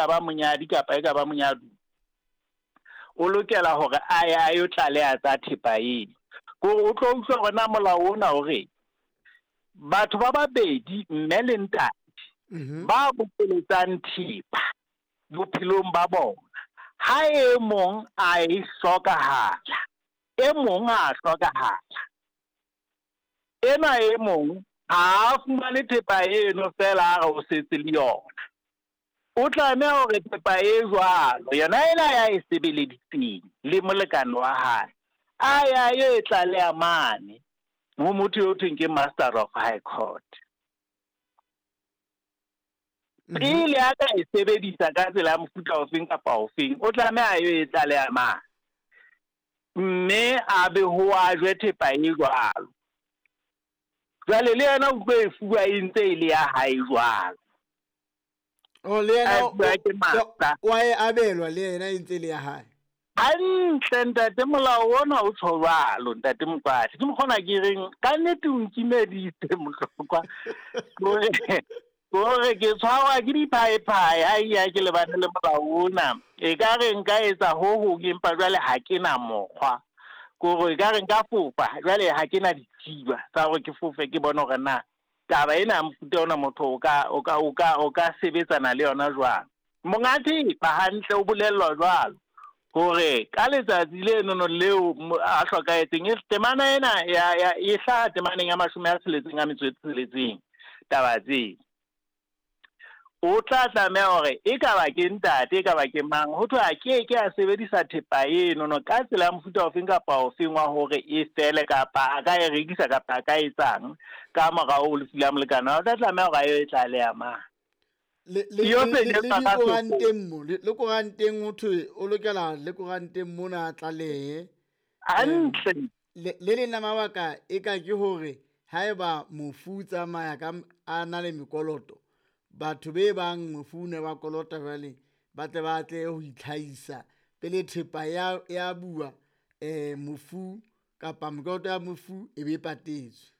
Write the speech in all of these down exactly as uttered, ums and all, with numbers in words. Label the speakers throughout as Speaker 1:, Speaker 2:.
Speaker 1: ka ba monyadi kapa e ka ba monyadu, o lokela hore a ye a yo tlaleha tsa thepa eno. Kore o tlo utlwa hore na molao ona o reng. Batho ba babedi, mme le ntate,
Speaker 2: Mhm.
Speaker 1: ba bokeletsang thepa bophelong ba bona, ha e mong a e hlokahala, e mong ha a hlokahala, enwa e mong ha a fumane thepa eno fela a re o setse le yona. O tlameha hore thepa e jwalo yona ena ya e sebeleditseng le molekane wa hae, a ya yo e tlaleha mane ho motho eo thweng ke Master of High Court.
Speaker 2: Mhm.
Speaker 1: Pele a ka e sebedisa ka tsela ya mofuta ofeng kapa ofeng, o tlameha a yo e tlaleha mane, mme a be ho ajwe thepa e jwalo. Jwale le yena o tlo e fuwa e ntse e le ya hae jwalo.
Speaker 2: Oh, le yena
Speaker 1: A
Speaker 2: o-
Speaker 1: fuwa ke master.
Speaker 2: o a e abelwa le yena e ntse e le ya hae.
Speaker 1: Hantle ntate, molao ona o tjho jwalo ntate Mokwatla. Ke mokgona ke reng ka nnete o nkimeditse Mohlokwa. Kore kore ke tshwarwa ke diphaephae ha e ya ke lebane le molao ona. E ka re nka etsa ho hong empa jwale ha ke na mokgwa. Kore e ka re nka fofa jwale ha ke na ditsiba tsa hore ke fofe ke bone hore na taba ena ya mofuta ona motho o ka o ka o ka o ka sebetsana le yona jwang. Monga thepa hantle o bolellwa jwalo hore ka letsatsi lenono leo mo- a hlokahetseng, e temana ena ya ya e hlaha temaneng ya mashome a tsheletseng a metso e tsheletseng taba tse. O tla tlameha hore e ka ba ke ntate, e ka ba ke mang, ho thwe a ke ke a sebedisa thepa enono ka tsela ya mofuta ofeng kapa ofeng wa hore e fele, kapa a ka e rekisa kapa a ka etsang ka morao ho lefu la molekane wa hae. O tla tlameha hore a yo e tlaleha mane.
Speaker 2: Le le
Speaker 1: Yo
Speaker 2: le
Speaker 1: se
Speaker 2: le
Speaker 1: le
Speaker 2: le dikoranteng mo, le le koranteng ho thwe o lokela le koranteng mona a tlalehe.
Speaker 1: Hantle.
Speaker 2: Le le leng la mabaka e ka ke hore haeba mofu o tsamaya ka a na le mekoloto, batho be bang mofu ne ba kolota jwale ba tle ba tle ho itlhahisa pele thepa ya ya bua eh mofu kapa mekoloto ya mofu e be patetswe.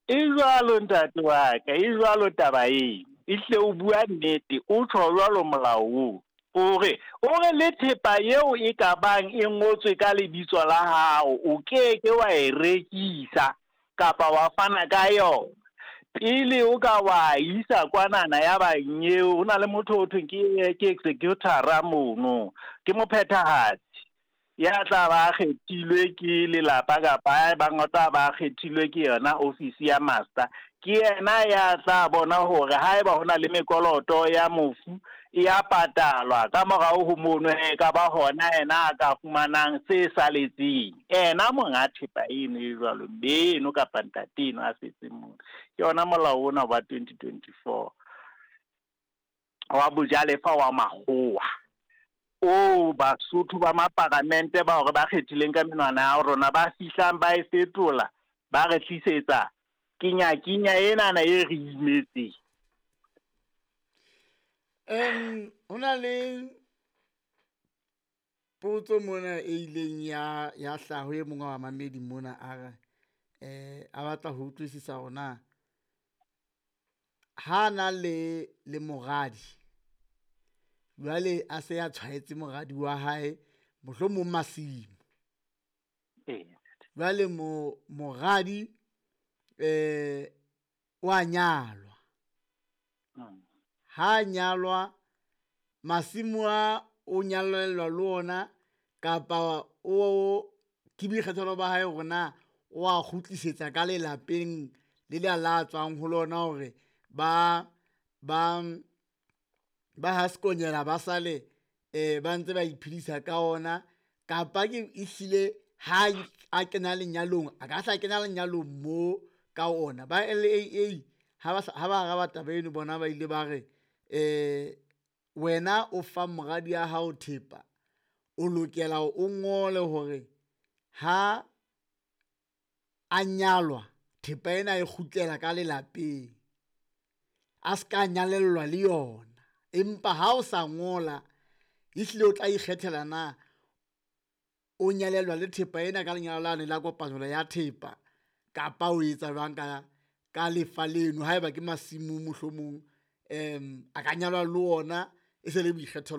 Speaker 1: E jwalo ntate wa ka, e jwalo taba eno. Ehlile o bua nnete, o tjho jwalo molao oo. O re, o re le thepa eo e ka bang e ngotswe ka lebitso la hao, o ke ke wa e rekisa kapa wa fana ka yona. Pele o ka wa isa kwanana ya bang eo, ho na le motho ho thweng ke ke executor-a mono, ke mophethahatsi ya tla ba kgethilwe ke lelapa kapa ya bang o tla ba kgethilwe ke yona office ya master. Ke yena ya tla bona hore haeba hona le mekoloto ya mofu e ya patalwa ka morao ho mono, e ka ba hona yena a ka fumanang se saletseng. Ena monga thepa eno e jwalo, mme eno kapa ntate eno a setseng mono. Ke yona molao ona wa twenty twenty-four wa bojalefa wa makgowa o Basotho ba maparamente ba hore ba kgethileng ka menwana ya rona ba fihlang ba e fetola ba re tlisetsa kenya-kenya enana e re imetseng.
Speaker 2: Em ho na le potso mona e ileng ya ya hlaha e mong wa bamamedi mona a re eh a batla ho utlwisisa hore na ha na le le moradi jwale a se a tshwaetse moradi wa hae mohlomong masimo,
Speaker 1: Ee.
Speaker 2: jwale mo moradi eh wa nyalwa,
Speaker 1: Mm.
Speaker 2: ha nyalwa masimo a o nyalellwa le ona kapa o ke boikgethelo ba hae hore na o a kgutlisetsa ka lelapeng le le la tswang ho lona hore ba ba ba ha sekonyela ba sale eh ba ntse ba iphedisa ka ona, kapa ke ehlile ha a kena lenyalong a ka hla kena lenyalong mo ka ona. Ba L A A ha ba ha ba araba taba eno bona ba ile ba re eh wena o fa moradi ya hao thepa o lokela o ngole hore ha a nyalwa thepa ena e kgutlela ka lelapeng, a ska nyalellwa le yona. Empa ha o sa ngola ehlile o tla ikgethela na o nyalellwa le thepa ena ka lenyalo lane la kopanelo ya thepa kapa o etsa jwang ka ka lefa leno. Haeba ke masimo mohlomong em a ka nyalwa le ona e se le boikgethelo.